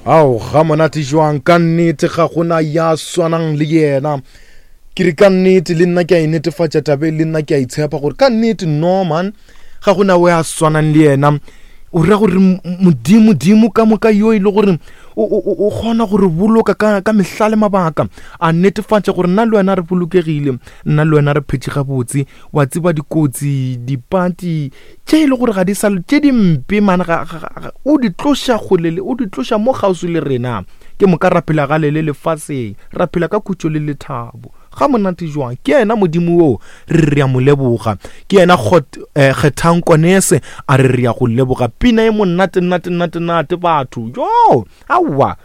Ao, ga monate jwang, ka nnete ga gona ya swanang le yena. Ke re ka nnete le nna ke a e netefatša tabe le nna ke a itshepa gore ka nnete no man ga gona we a swanang le yena. O ra gore modimo dimo ka moka yo e le gore o kgona gore boloka ka ka mehla le mabaka a netefatša gore nna le wena re bolokegile nna le wena re phetše gabotse wa tseba dikotsi dipati tše e le gore ga di sa tše dimpe mane o di tloša kgole le o di tloša mo kgauswi le rena ke moka ra phela gale le lefaseng ra phela ka khutšo le lethabo ga monate jwang ke yena modimo wo re re ya mo leboga ke yena eh, kgethang konese a re re ya go leboga pina e monate nate nate nate batho yo aowa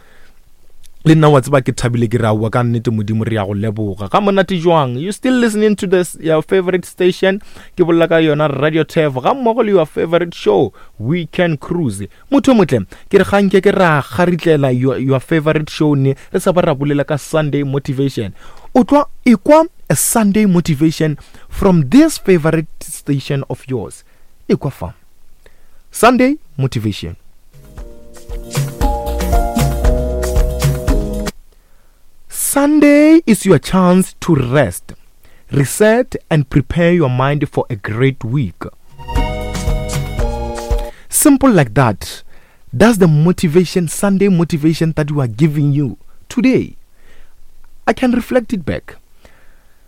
le nna wa tseba ke thabile ke re aowa ka nnete modimo re ya go leboga ga monate jwang you still listening to this your favorite station ke bolela ka yona radio tef ga mmogo le your favorite show weekend cruise motho motle ke re ganke ke ra garitlela your, your favorite show ne re sa ba ra bolela ka sunday motivation o tlwa ekwa a sunday motivation from this favorite station of yours ekwa fa sunday motivation Sunday is your chance to rest, reset, and prepare your mind for a great week. Simple like that. That's the motivation, Sunday motivation that we are giving you today. I can reflect it back.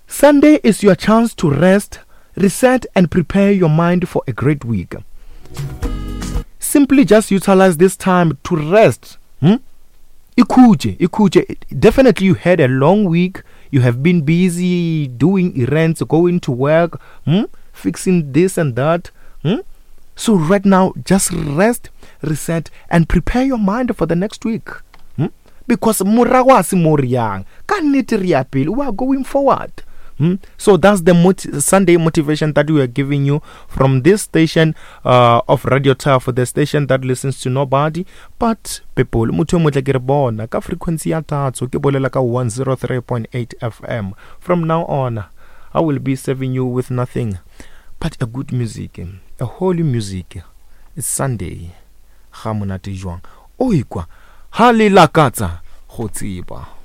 Sunday is your chance to rest, reset, and prepare your mind for a great week. Simply just utilize this time to rest. Hmm? Ikhuje, ikhuje. Definitely, you had a long week. You have been busy doing errands, going to work, hmm? fixing this and that. Hmm? So, right now, just rest, reset, and prepare your mind for the next week. Hmm? Because morago a se mo re yang. Ka nnete re ya pele. We are going forward. Hmm? So that's the mot- Sunday motivation that we are giving you from this station uh, of Radio Turf, the station that listens to nobody but people. Motho motle ke re bona ka frequency ya tatso ke bolela ka 103.8 FM. From now on, I will be serving you with nothing but a good music, a holy music. It's Sunday. Ga monate jwang. O ikwa ha le lakatsa go tseba.